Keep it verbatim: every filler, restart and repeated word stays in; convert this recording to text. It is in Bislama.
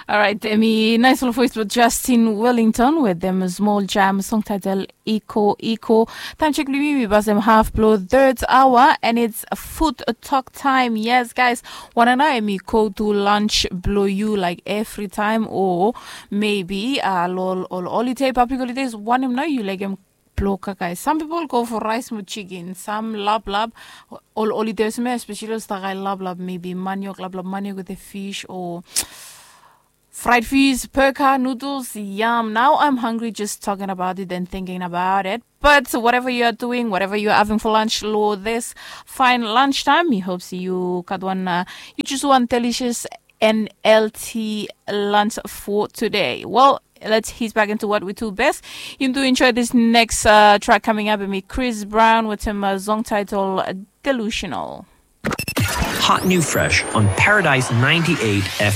Alright, em i nais ol voice blong Justin Wellington with them small jam song title Iko Iko. Time check blong mi, mi pass them half blong third hour and it's food talk time. Yes, guys, wanna know em i go to lunch blong you like every time or maybe uh, lol all holiday, public holidays, one em now you like em bloka, guys. Some people go for rice with chicken, some lab lab, all holidays me especially ol stakae lab lab, maybe maniok, lab lab maniok with a fish or fried fish, perka, noodles, yum. Now I'm hungry just talking about it and thinking about it. But whatever you are doing, whatever you are having for lunch, lo this fine lunchtime, he hopes you got one, uh, you choose one delicious N L T lunch for today. Well, let's head back into what we do best. You do enjoy this next uh, track coming up with me, Chris Brown, with him uh, song title Delusional. Hot new fresh on Paradise ninety-eight F M.